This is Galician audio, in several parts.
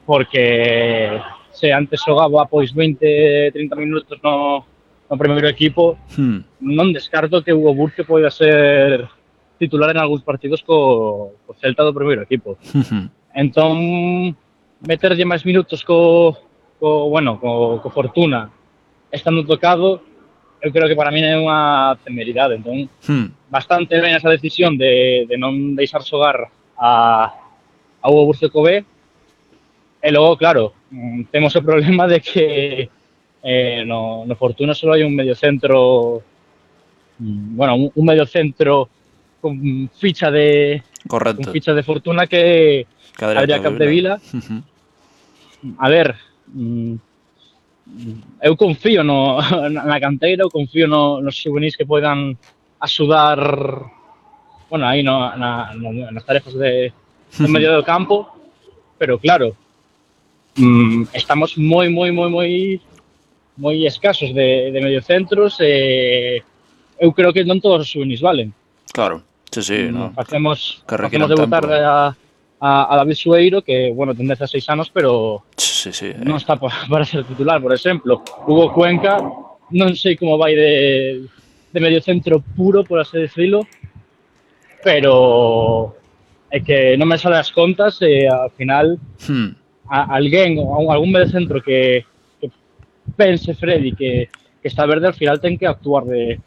porque se antes xogaba pois 20, 30 minutos no primeiro equipo, Hmm. non descarto que Hugo Burke poida ser titular en algúns partidos co Celta do primeiro equipo. Entón, meterlle máis minutos co Fortuna estando tocado, eu creo que para mí é unha temeridade. Entón, bastante ben esa decisión de non deixar xogar a Hugo Burke co B. E logo, claro, temos o problema de que no Fortuna só hai un mediocentro, un mediocentro con ficha Correcto. de Fortuna, que Que Adrián Adrián Capdevila. Capdevila. A ver, eu confío na canteira, eu confío nos xuvenis que poidan axudar, aí nas tarefas de medio do campo, pero claro, estamos moi escasos de mediocentros, eu creo que non todos os xuvenis valen. Claro, sí, no. Facemos Que requiran debutar tempo. a David Sueiro, que, ten 16 anos, pero Sí. non está para ser titular, por exemplo. Hugo Cuenca, non sei como vai de mediocentro puro, por así decirlo, pero é que non me sale as contas, e ao final algún mediocentro que pense Freddy que está verde, al final ten que actuar de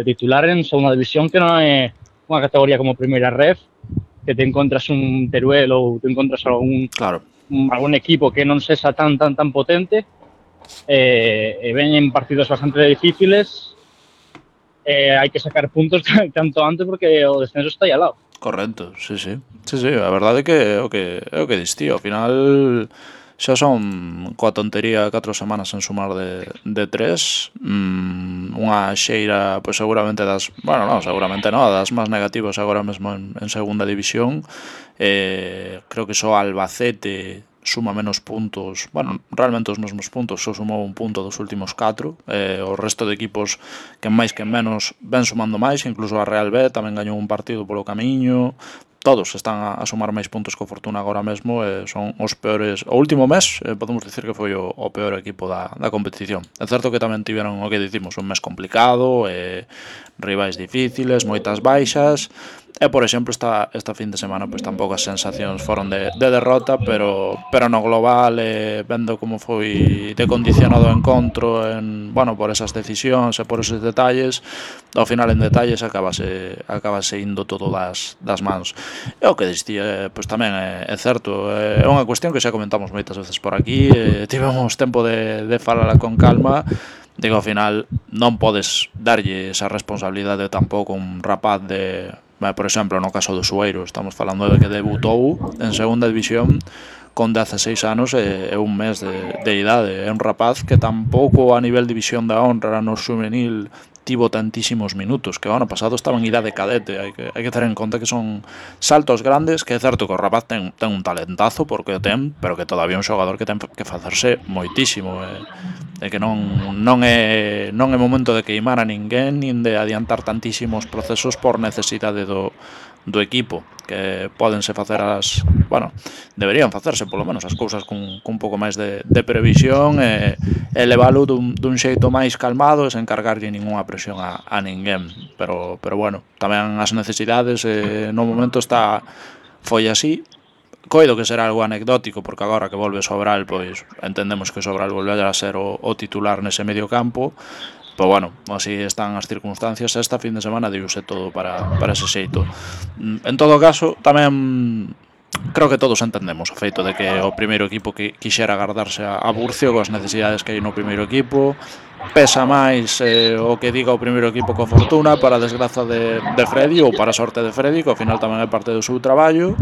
titular en segunda división, que non é unha categoría como primeira ref, que te encontras un Teruel ou te encontras algún equipo que non sexa tan potente, e veñen partidos bastante difíciles, hai que sacar puntos tanto antes, porque o descenso está aí ao lado. Correcto, sí. A verdade é que é o que dis ti, ao final xa son coa tontería 4 semanas en sumar de 3, unha xeira pois seguramente seguramente das máis negativas agora mesmo en segunda división. Creo que só Albacete suma menos puntos, realmente os mesmos puntos, só sumou un punto dos últimos 4, o resto de equipos que máis que menos ven sumando máis, incluso a Real B tamén gañou un partido polo camiño. Todos están a sumar máis puntos que o Fortuna agora mesmo, son os peores. O último mes podemos dicir que foi o peor equipo da competición. É certo que tamén tiveron o que dicimos un mes complicado, rivais difíciles, moitas baixas. E, por exemplo, esta fin de semana pois tampouco as sensacións foron de derrota, pero no global, vendo como foi decondicionado o encontro por esas decisións e por esos detalles, ao final en detalles acabase indo todo das mans. E o que distía, pois tamén é certo, é unha cuestión que xa comentamos moitas veces por aquí, tivemos tempo de falala con calma. Digo, ao final non podes darlle esa responsabilidade tampouco a un rapaz por exemplo, no caso do Sueiro, estamos falando de que debutou en segunda división con 16 anos e un mes de idade. É un rapaz que tampouco a nivel división da honra no xuvenil tivo tantísimos minutos, que o ano pasado estaba en idade cadete. Hai que ter en conta que son saltos grandes, que é certo que o rapaz ten un talentazo, porque o ten, pero que todavía é un xogador que ten que facerse moitísimo, e que non é momento de queimar a ninguén, nin de adiantar tantísimos procesos por necesidade do equipo, que pódense facer deberían facerse polo menos as cousas cun pouco máis de previsión, e levalo dun xeito máis calmado, e sen cargarlle ninguna presión a ninguén, pero tamén as necesidades no momento foi así. Coido que será algo anecdótico, porque agora que volve Sobral, pois entendemos que Sobral volverá a ser o titular nese medio campo. Pero así están as circunstancias. Esta fin de semana diuse todo para ese xeito. En todo caso, tamén creo que todos entendemos o feito de que o primeiro equipo que quixera agardarse a Burcio coas necesidades que hai no primeiro equipo. Pesa máis o que diga o primeiro equipo co Fortuna, para a desgraza de Freddy, ou para a sorte de Freddy, que ao final tamén é parte do seu traballo.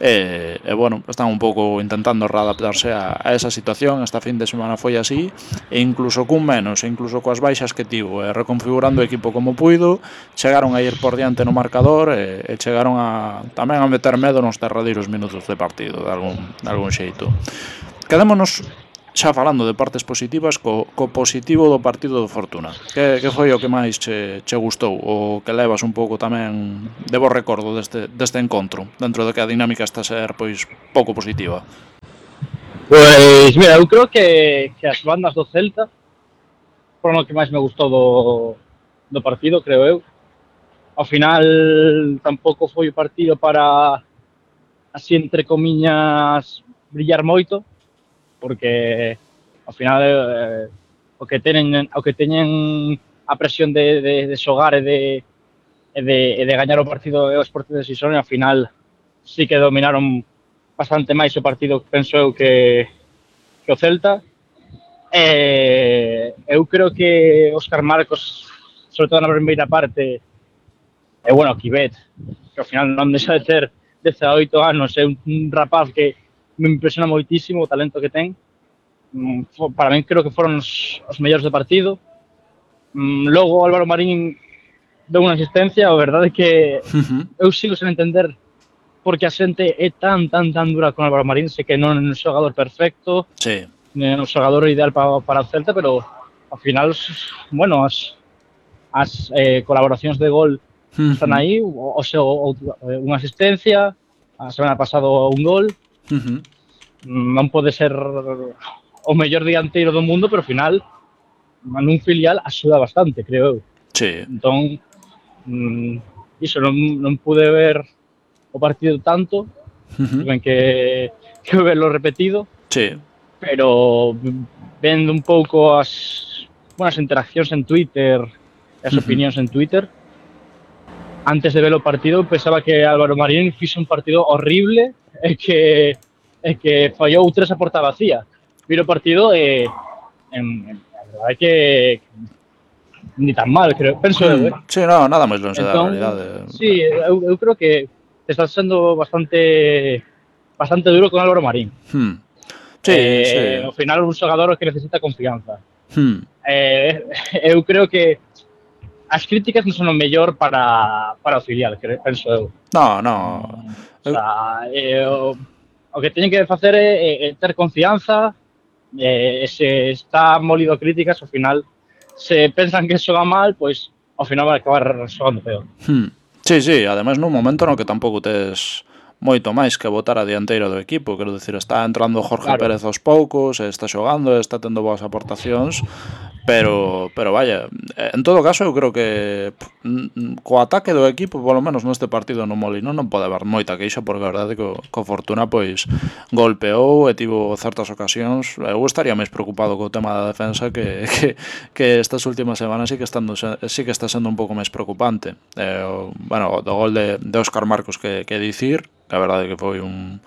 Están un pouco intentando readaptarse a esa situación. Esta fin de semana foi así, e incluso cun menos, e incluso coas baixas que tivo, reconfigurando o equipo como puido, chegaron a ir por diante no marcador, e chegaron tamén a meter medo nos derradeiros minutos de partido, de algún xeito. Quedémonos xa falando de partes positivas co positivo do partido do Fortuna. Que foi o que máis che gustou, o que levas un pouco tamén de bo recordo deste encontro, dentro de que a dinámica está a ser pois pouco positiva? Pois, mira, eu creo que as bandas do Celta foron o que máis me gustou do partido, creo eu. Ao final tampouco foi o partido para, así entre comiñas, brillar moito, porque ao final o que teñen a presión de xogar e de gañar o partido e o Sporting de Xixón, e ao final sí que dominaron bastante máis o partido, penso eu, que o Celta. Eu creo que Óscar Marcos, sobre todo na primeira parte, e bueno, Kibet, que ao final non deixa de ter 18 anos, é un rapaz que me impresiona moitísimo o talento que ten. Para min creo que foron os mellores do partido. Logo Álvaro Marín deu unha asistencia, a verdade é que eu sigo sen entender porque a xente é tan dura con Álvaro Marín, sei que non é un xogador perfecto, Sí. non é un xogador ideal para o Celta, pero ao final, bueno, as colaboracións de gol están aí, unha asistencia, a semana pasada un gol. Non pode ser o mellor dianteiro do mundo, pero ao final nun filial axuda bastante, creo eu. Sí. Entón, iso, non pude ver o partido tanto, tiven que verlo repetido. Sí. Pero vendo un pouco as interaccións en Twitter e as opinións en Twitter, antes de ver o partido pensaba que Álvaro Marín fixo un partido horrible e que fallou 3 a porta vacía. Viro o partido e a verdade é que ni tan mal, creo, penso eu, Sí, no, nada máis longe da realidade. Sí, eu creo que está sendo bastante duro con Álvaro Marín. Sí, sí. Ao final un xogador que necesita confianza. Eu creo que as críticas non son o mellor para o filial, penso eu. No. O sea, o que teñen que facer é ter confianza, e se está molido críticas, ao final, se pensan que xoga mal, pois ao final vai acabar xogando peor. Sí, ademais nun momento no que tampouco tes moito máis que botar a dianteira do equipo, quero dicir, está entrando Jorge Pérez aos poucos, está xogando, está tendo boas aportacións, pero vaya, en todo caso eu creo que co ataque do equipo, polo menos neste partido no Molinón, non pode haber moita queixa, porque a verdade é que co Fortuna pois golpeou e tivo certas ocasións. Eu estaría máis preocupado co tema da defensa que estas últimas semanas sí que está sendo un pouco máis preocupante. Bueno, do gol de Óscar Marcos que dicir, que a verdade é que foi un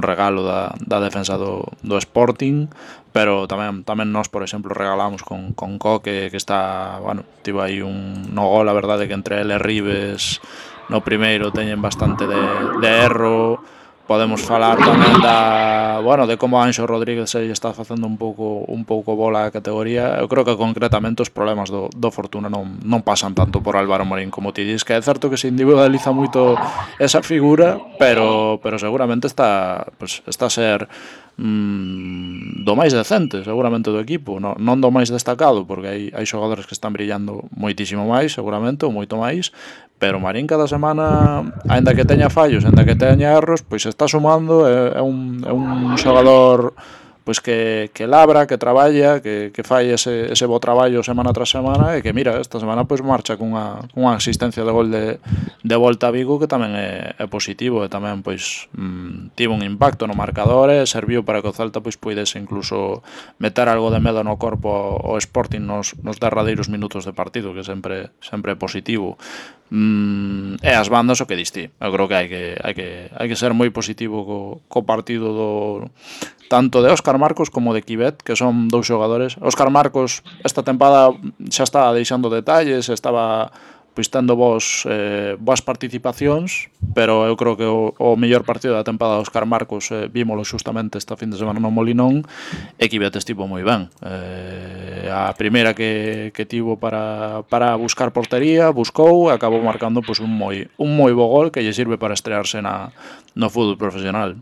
regalo da defensa do Sporting, pero tamén nós, por exemplo, regalamos con Coque, que está, bueno, tivo aí no gol, a verdade é que entre ele e Ribes no primeiro teñen bastante de erro. Podemos falar tamén de como Anxo Rodríguez se está facendo un pouco bola a categoría. Eu creo que concretamente os problemas do Fortuna non pasan tanto por Álvaro Marín como ti dis, que é certo que se individualiza moito esa figura, pero seguramente está a ser do máis decente, seguramente, do equipo, non do máis destacado, porque hai xogadores que están brillando moitísimo máis, seguramente, ou moito máis, pero Marín cada semana, aínda que teña fallos, aínda que teña erros, pois está sumando, é un xogador pois que labra, que traballa, que fai ese bo traballo semana tras semana, e que mira, esta semana pois marcha cunha asistencia de gol de volta a Vigo, que tamén é positivo, e tamén pois tivo un impacto no marcador e serviu para que o Celta pois puidese incluso meter algo de medo no corpo ao Sporting nos derradeiros minutos de partido, que sempre é positivo. E as bandas, o que diste, eu creo que hai que ser moi positivo co partido tanto de Óscar Marcos como de Kibet, que son dous xogadores. Óscar Marcos esta tempada xa está deixando detalles, estaba pois tendo boas participacións, pero eu creo que o mellor partido da tempada de Óscar Marcos vímolo xustamente esta fin de semana no Molinón, e Kibet estivo moi ben. A primeira que tivo para buscar portería, buscou e acabou marcando pois un moi bo gol que lle sirve para estrearse no fútbol profesional.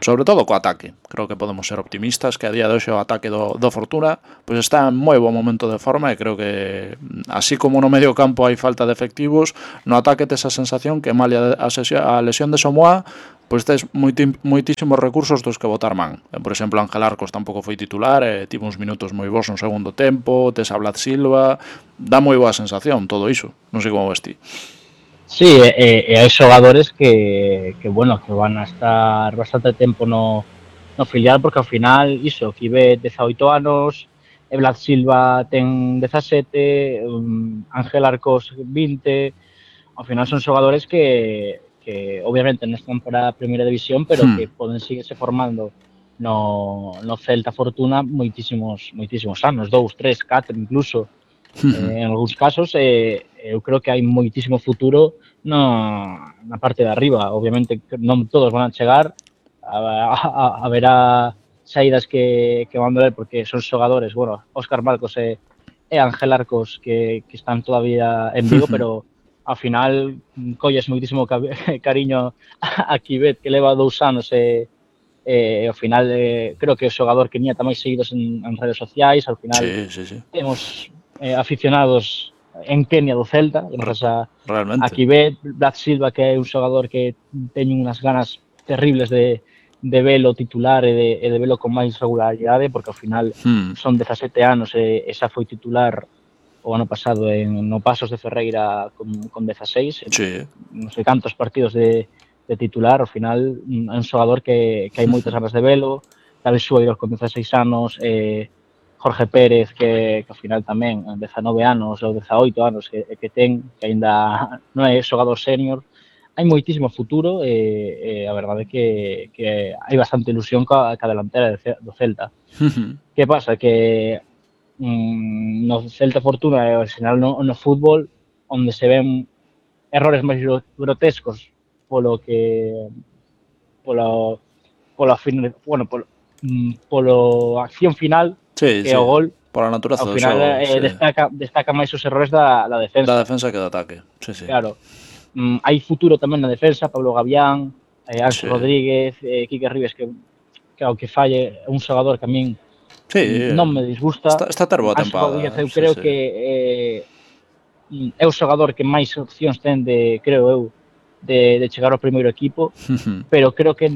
sobre todo co ataque. Creo que podemos ser optimistas que a día de hoxe o ataque do Fortuna pois está en moi bo momento de forma e creo que así como no medio campo hai falta de efectivos, no ataque tes a sensación que malia a lesión de Somoa pois tes moitísimos recursos dos que botar man. Por exemplo, Ángel Arcos tampouco foi titular, tivo uns minutos moi bons no segundo tempo, tes a Vlad Silva, dá moi boa sensación todo iso. Non sei como ves ti. Sí, hai xogadores que van a estar bastante tempo no filial, porque ao final, iso, Kivet 18 anos, Vlad Silva ten 17, Ángel Arcos 20, ao final son xogadores que obviamente non están para a primeira división, pero que poden seguirse formando no Celta Fortuna moitísimos anos, 2, 3, 4 incluso, en algúns casos, eu creo que hai moitísimo futuro na parte de arriba. Obviamente non todos van a chegar, haberá saídas que van doler porque son xogadores, bueno, Óscar Marcos e Ángel Arcos que están todavía en Vigo, pero ao final colles moitísimo cariño a Kivet, que leva 2 anos e ao final creo que o xogador que niña tamén seguidos en redes sociais. Ao final temos aficionados en Kenia do Celta, gracias a Kivet, Vlad Silva, que é un xogador que teñen unhas ganas terribles de velo titular e de velo con máis regularidade, porque ao final son 17 anos e xa foi titular o ano pasado no Pasos de Ferreira con 16, non sei cantos partidos de titular. Ao final é un xogador que hai moitas ganas de velo. David Sueiro con 16 anos, Jorge Pérez que ao final tamén 19 anos ou 18 anos que ten, que aínda non é xogador senior. Hai moitísimo futuro e a verdade é que hai bastante ilusión ca delantera do Celta. Que pasa? Que no Celta Fortuna e ao final no fútbol, onde se ven errores máis grotescos polo acción final, que o gol, pola natureza ao final destaca máis os errores da defensa. Da defensa que do ataque. Claro. Hai futuro tamén na defensa, Pablo Gavián, Ángel Rodríguez, Quique Ribes, que ao que falle é un xogador que a min non me disgusta. Está ter boa tempada. Eu creo que é o xogador que máis opcións ten creo eu, de chegar ao primeiro equipo, pero creo que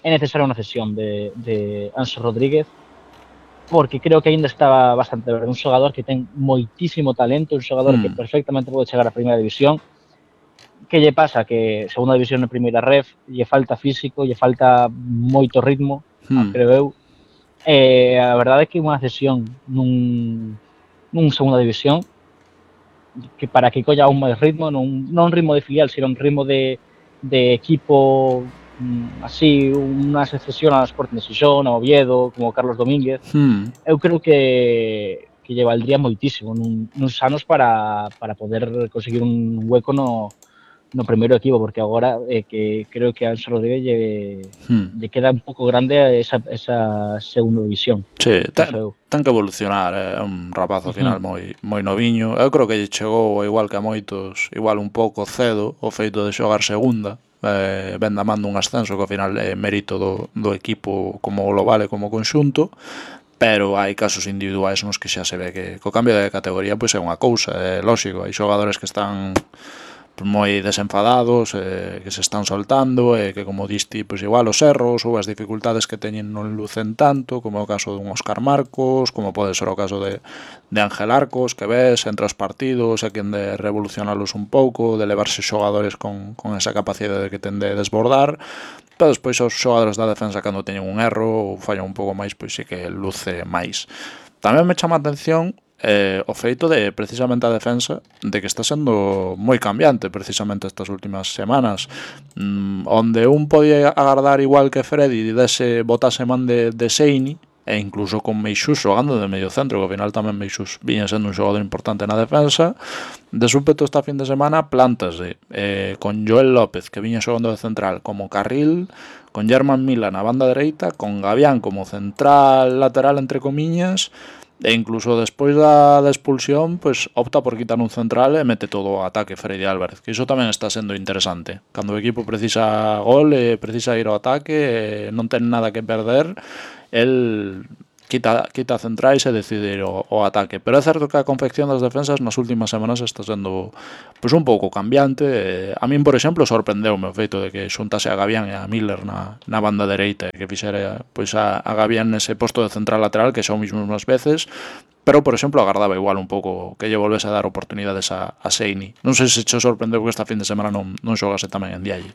é necesaria unha cesión de Ángel Rodríguez, porque creo que aínda está bastante verde. Un xogador que ten moitísimo talento, un xogador que perfectamente pode chegar á primeira división. Que lle pasa? Que segunda división na primeira ref, lle falta físico, lle falta moito ritmo, creo eu. A verdade é que unha cesión nun segunda división, que para que colla un máis ritmo, non un ritmo de filial, sino un ritmo de equipo, así, unha cesión ao Sporting de Xixón, ao Oviedo, como Carlos Domínguez. Eu creo que lle valdría moitísimo nuns anos para poder conseguir un hueco no primeiro equipo, porque agora que creo que a Ángel Rodríguez lle queda un pouco grande esa segunda división. Sí, ten que evolucionar, é un rapaz ao final moi noviño. Eu creo que lle chegou, igual que a moitos, igual un pouco cedo, o feito de xogar segunda, ben da man dun ascenso, que ao final é mérito do equipo como global e como conxunto, pero hai casos individuais nos que xa se ve que co cambio de categoría pois é unha cousa, é lógico, hai xogadores que están moi desenfadados, que se están soltando e que, como diste, pois igual os erros ou as dificultades que teñen non lucen tanto, como é o caso dun Óscar Marcos, como pode ser o caso de Ángel Arcos, que ves entre os partidos e quen de revolucionalos un pouco, de levarse xogadores con esa capacidade que ten de desbordar, pero despois os xogadores da defensa cando teñen un erro ou fallan un pouco máis, pois sí que luce máis. Tamén me chama a atención o feito de, precisamente, a defensa, de que está sendo moi cambiante precisamente estas últimas semanas, onde un podía agardar igual que Freddy botase man de Seini, e incluso con Meixús xogando de medio centro, que ao final tamén Meixús viña sendo un xogador importante na defensa. De súpeto esta fin de semana plantase con Joel López, que viña xogando de central, como carril, con Germán Mila na banda dereita, con Gavián como central lateral, entre comiñas, E incluso despois da expulsión, pues opta por quitar un central e mete todo o ataque Freddy Álvarez, que iso tamén está sendo interesante. Cando o equipo precisa gol e precisa ir ao ataque, non ten nada que perder, el quita centrais e decide ir ao ataque. Pero é certo que a confección das defensas nas últimas semanas está sendo pues, un pouco cambiante. A min, por exemplo, sorprendeume o feito de que xuntase a Gavián e a Miller na banda dereita e que fixera pues, a Gavián nese posto de central lateral que xa o mismo unhas veces, pero, por exemplo, agardaba igual un pouco que lle volvese a dar oportunidades a Seini. Non sei se che sorprendeu que esta fin de semana non xogase tamén en Dialle.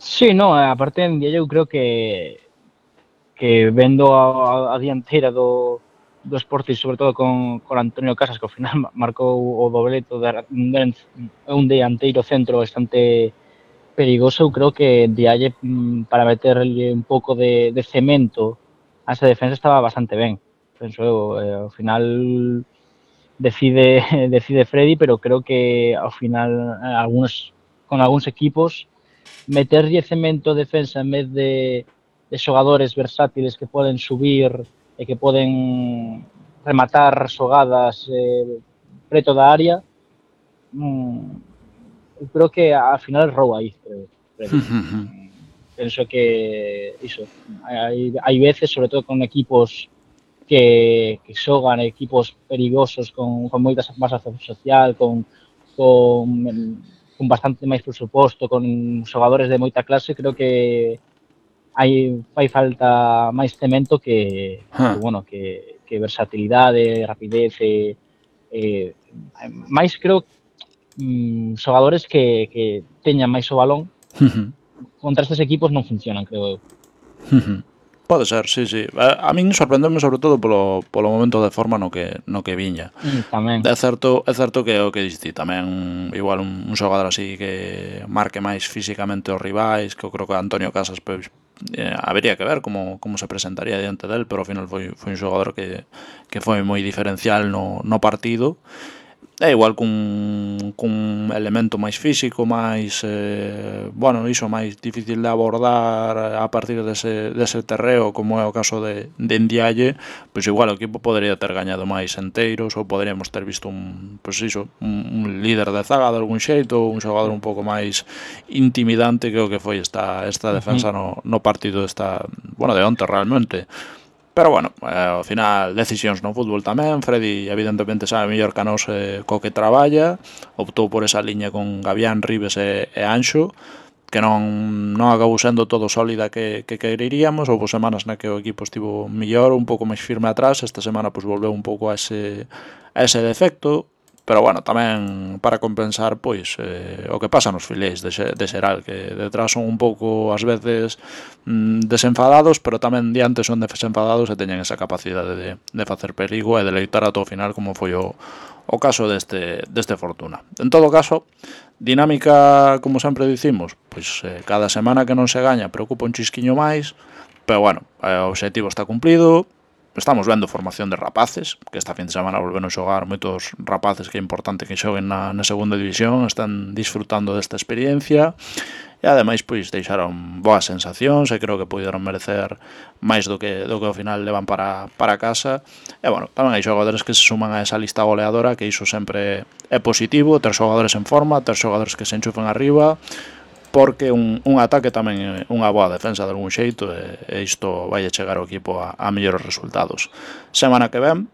Sí, no, aparte en Dialle eu creo que vendo a dianteira do Sporting, sobre todo con Antonio Casas, que ao final marcou o dobleto un dianteiro centro bastante perigoso. Eu creo que Dialle, para meterle un pouco de cemento a esa defensa, estaba bastante ben. Penso eu, ao final decide Freddy, pero creo que ao final con algúns equipos meterlle cemento defensa en vez de xogadores versátiles que poden subir e que poden rematar xogadas preto da área, eu creo que ao final rouba aí, creo. Penso que iso, hai veces, sobre todo con equipos que xogan, equipos perigosos con moita masa social, con bastante máis presuposto, con xogadores de moita clase, creo que fai falta máis cemento que versatilidade, rapidez máis creo xogadores que teñan máis o balón contra estes equipos non funcionan, creo eu. Pode ser, sí. A min sorprendeume sobre todo polo momento de forma no que viña. Tamén. É certo que é o que diste tamén, igual un xogador así que marque máis físicamente os rivais, que eu creo que Antonio Casas pues, habería que ver como se presentaría diante del, pero ao final foi un xogador que foi moi diferencial no partido. É igual cun elemento máis físico, máis iso máis difícil de abordar a partir dese terreo, como é o caso de Ndiaye, pois igual o equipo podería ter gañado máis enteiros, ou poderíamos ter visto un líder de zaga de algún xeito, un xogador un pouco máis intimidante que o que foi esta defensa no partido de onte realmente. Pero bueno, ao final decisións no fútbol tamén. Freddy evidentemente sabe mellor que a nos co que traballa, optou por esa liña con Gavián, Ribes e Anxo, que non acabou sendo todo sólida que quereríamos. Houve semanas na que o equipo estivo mellor, un pouco máis firme atrás. Esta semana pues, volveu un pouco a ese defecto. Pero bueno, tamén para compensar pois o que pasa nos filéis de Xeral, que detrás son un pouco ás veces desenfadados, pero tamén diante son desenfadados e teñen esa capacidade de facer perigo e de loitar ata o final, como foi o caso deste Fortuna. En todo caso, dinámica, como sempre dicimos, pois cada semana que non se gaña preocupa un chisquiño máis, pero bueno, o obxectivo está cumplido. Estamos vendo formación de rapaces, que esta fin de semana volveron a xogar moitos rapaces que é importante que xoguen na segunda división, están disfrutando desta experiencia e ademais pois deixaron boas sensacións e creo que puderon merecer máis do que ao final levan para casa. E bueno, tamén hai xogadores que se suman a esa lista goleadora, que iso sempre é positivo, ter xogadores en forma, ter xogadores que se enchufen arriba, porque un ataque tamén é unha boa defensa de algún xeito e isto vai a chegar ao equipo a mellores resultados. Semana que ven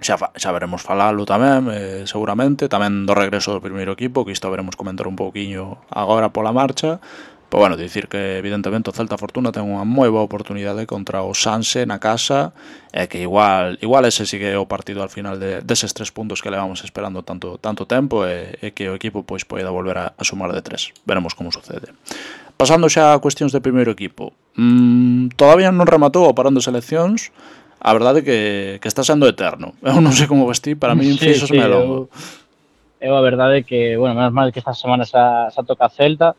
xa veremos falalo tamén, seguramente, tamén do regreso do primeiro equipo, que isto veremos comentar un pouquiño agora pola marcha. Pero bueno, dicir que evidentemente o Celta Fortuna ten unha moi boa oportunidade contra o Sanse na casa e que igual ese sigue o partido al final deses 3 puntos que levamos esperando tanto tempo e que o equipo pois poida volver a sumar de 3. Veremos como sucede. Pasando xa a cuestións de primeiro equipo, todavía non rematou o parón de seleccións. A verdade que está sendo eterno. Eu non sei como vestí, para mí fixosme longo. Eu a verdade que, bueno, menos mal que esta semana xa toca a Celta.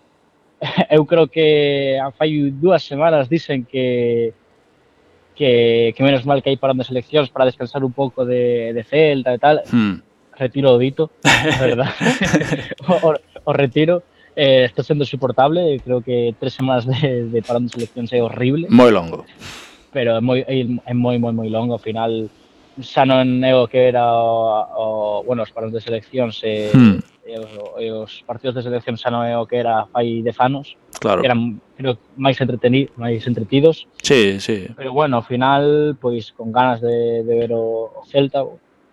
Eu creo que fai 2 semanas dicen que menos mal que hai parón de seleccións para descansar un pouco de Celta e tal. Retiro o dito, verdad. o retiro. Está sendo insoportable. Creo que 3 semanas de parón de seleccións é horrible. Moi longo. pero é moi longo, ao final xa non é o que era bueno, os paróns de seleccións e os partidos de selección xa non é o que era fai 10 anos, Claro. que eran, creo, máis entretidos. Sí, sí. Pero bueno, ao final, pois con ganas de ver o Celta,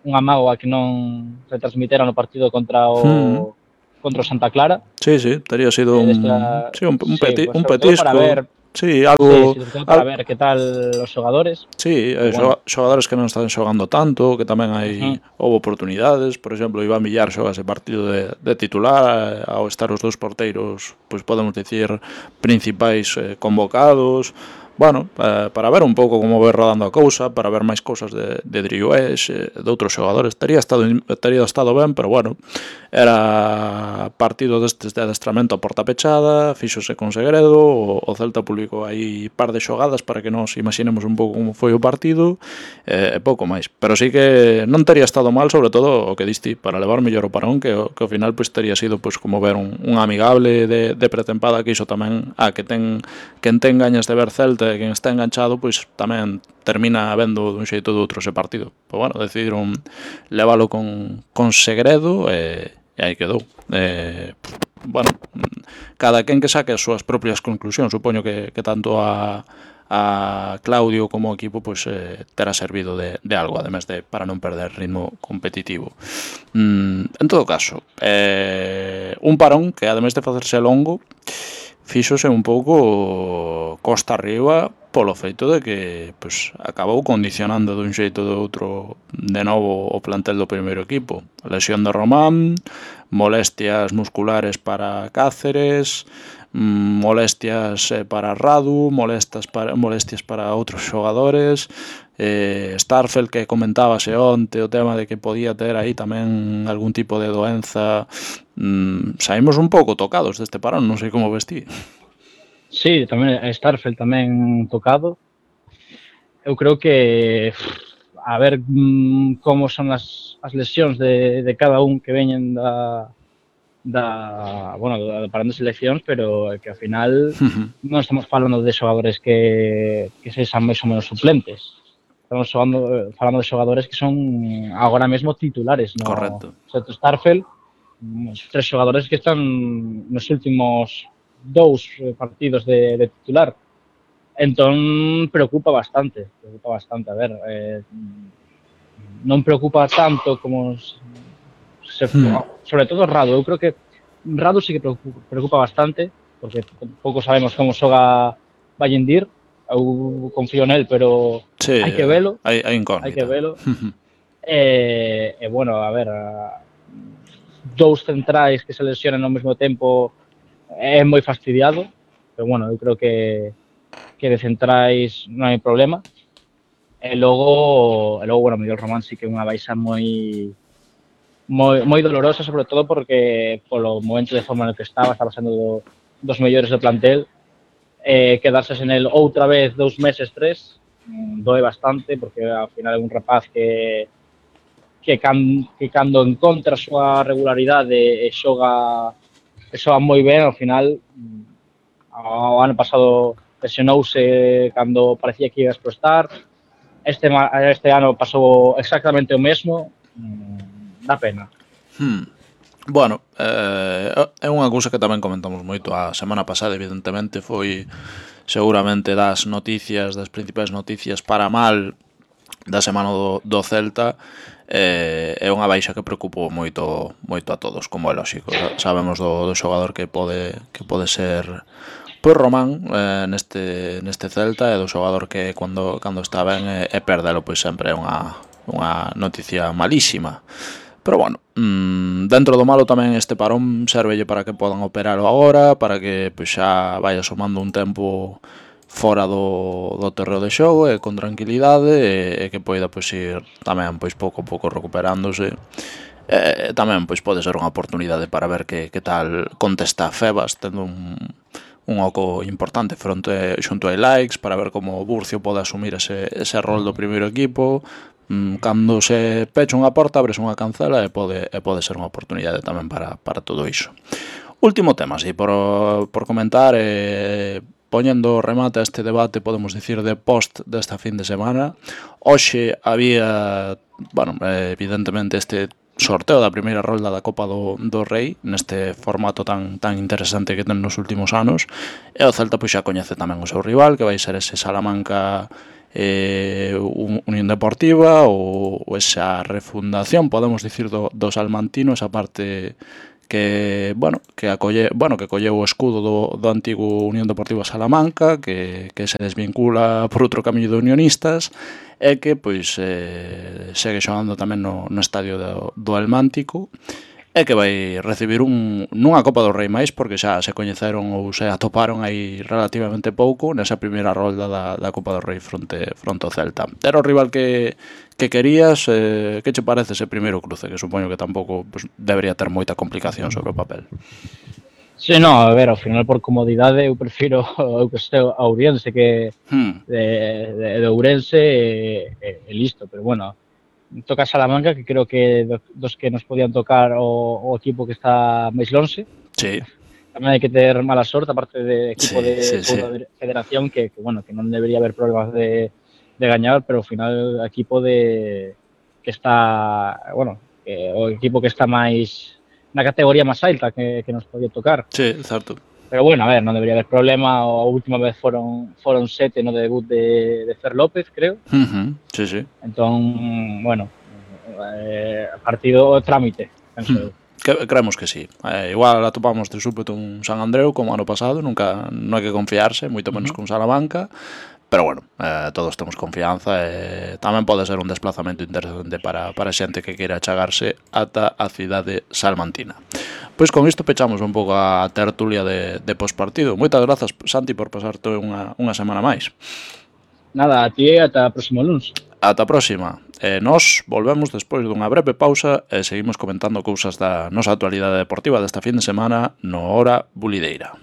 unha mágoa que non retransmitera no partido contra o Santa Clara. Sí, tería sido un sobre todo para ver algo sobre todo para ver que tal os xogadores. Sí, xogadores que non están xogando tanto, que tamén houve oportunidades, por exemplo, Iván Villar xoga ese partido de titular, ao estar os dous porteiros, pois podemos dicir, principais convocados. Bueno, para ver un pouco como vai rodando a cousa, para ver máis cousas de Driouech, de outros xogadores, tería estado ben, pero bueno, era partido destes de adestramento a porta pechada, fíxose con segredo, o Celta publicou aí par de xogadas para que nos imaginemos un pouco como foi o partido, e pouco máis. Pero sí que non tería estado mal, sobre todo o que diste, para levar mellor o parón, que ao final pois tería sido pois como ver un amigable de pretempada, que iso tamén quen ten gañas de ver Celta, quen está enganchado, pois tamén termina vendo dun xeito ou do outro ese partido. Pois bueno, decidiron leválo con segredo e aí quedou. Bueno, cada quen que saque as súas propias conclusións, supoño que tanto a Claudio como o equipo pois terá servido de algo, ademais de para non perder ritmo competitivo. En todo caso, un parón que ademais de facerse longo, fíxose un pouco costa arriba polo feito de que pois, acabou condicionando dun xeito ou do outro de novo o plantel do primeiro equipo. A lesión de Román, molestias musculares para Cáceres, molestias para Radu, molestias para outros xogadores, Starfelt, que comentábase onte o tema de que podía ter aí tamén algún tipo de doenza. Saímos un pouco tocados deste parón, non sei como vestí. Sí, tamén Starfelt tamén tocado. Eu creo que a ver como son as lesións de cada un que veñen do parón de seleccións, pero que ao final non estamos falando de xogadores que sexan máis ou menos suplentes. Estamos falando de xogadores que son agora mesmo titulares no Starfelt, os 3 xogadores que están nos últimos 2 partidos de titular. Entón preocupa bastante, a ver, non preocupa tanto como sobre todo Radu. Eu creo que Radu sí que preocupa bastante, porque pouco sabemos como xoga Vallendir. Eu confío nel, pero hai que velo. Hai incógnita. Hai que velo. Bueno, a ver, dous centrais que se lesionen ao mesmo tempo é moi fastidiado, pero bueno, eu creo que de centrais non hai problema. E logo bueno, Miguel Román sí que é unha baixa moi dolorosa, sobre todo porque polo momento de forma no que estaba sendo dos mellores do plantel. Quedarse sen el outra vez 2 meses, 3, doe bastante, porque ao final é un rapaz que cando encontra a súa regularidade e xoga moi ben, ao final o ano pasado lesionouse cando parecía que iba a explotar. Este ano pasou exactamente o mesmo. Dá pena. Bueno, é unha cousa que tamén comentamos moito a semana pasada, evidentemente, foi seguramente das principais noticias para mal da semana do Celta. É unha baixa que preocupou moito a todos, como é lógico. Sabemos do xogador que pode ser pois Román neste Celta, e do xogador que cando está ben e perdelo pois sempre é unha noticia malísima. Pero bueno, dentro do malo tamén este parón servelle para que podan operalo agora, para que pois xa vaya somando un tempo fora do terreo de xogo e con tranquilidade, e que poida pois ir tamén pois pouco a pouco recuperándose. Tamén pois pode ser unha oportunidade para ver que tal contesta Febas, tendo un oco importante xunto a Likes, para ver como o Burcio pode asumir ese rol do primeiro equipo. Cando se pecha unha porta, abres unha cancela e pode ser unha oportunidade tamén para todo iso. Último tema, así, por comentar, poñendo remate a este debate, podemos dicir, de post desta fin de semana, hoxe había, bueno, evidentemente este sorteo da primeira rolda da Copa do Rei neste formato tan interesante que ten nos últimos anos, e o Celta pois xa coñece tamén o seu rival, que vai ser ese Salamanca Unión Deportiva ou esa refundación, podemos dicir, do salmantino, esa parte que, bueno, que colleu o escudo do antigo Unión Deportiva Salamanca, que se desvincula por outro camiño de unionistas, e que pois segue xogando tamén no estadio do Almántico, e que vai recibir nunha Copa do Rei máis, porque xa se coñeceron ou se atoparon aí relativamente pouco nesa primeira rolda da Copa do Rei fronte ao Celta. Era o rival que querías, que che parece ese primeiro cruce, que supoño que tampouco pues, debería ter moita complicación sobre o papel? Sí, no, a ver, ao final por comodidade eu prefiro o que este a Ourense que de Ourense e listo, pero bueno, toca Salamanca, que creo que dos que nos podían tocar o equipo que está máis lonxe. Sí. Tamén hai que ter mala sorte, aparte de equipo de federación, que bueno, que non debería haber problemas de gañar, pero ao final equipo que está, bueno, o equipo que está máis na categoría máis alta que nos podía tocar. Sí, certo. Pero bueno, a ver, non debería haber problema. A última vez foron 7 no debut de Fer López, creo. Sí, sí. Entón, bueno, partido trámite, penso eu. Creemos que sí. Igual atopamos de súpeto un San Andreu como ano pasado, nunca non hai que confiarse, moito menos con Salamanca, pero bueno, todos temos confianza e tamén pode ser un desplazamento interesante para xente que queira achegarse ata a cidade salmantina. Pois con isto pechamos un pouco a tertulia de pospartido. Moitas grazas, Santi, por pasarte unha semana máis. Nada, a ti e ata o próximo luns. Ata a próxima. Nós volvemos despois dunha breve pausa e seguimos comentando cousas da nosa actualidade deportiva desta fin de semana no Hora Bulideira.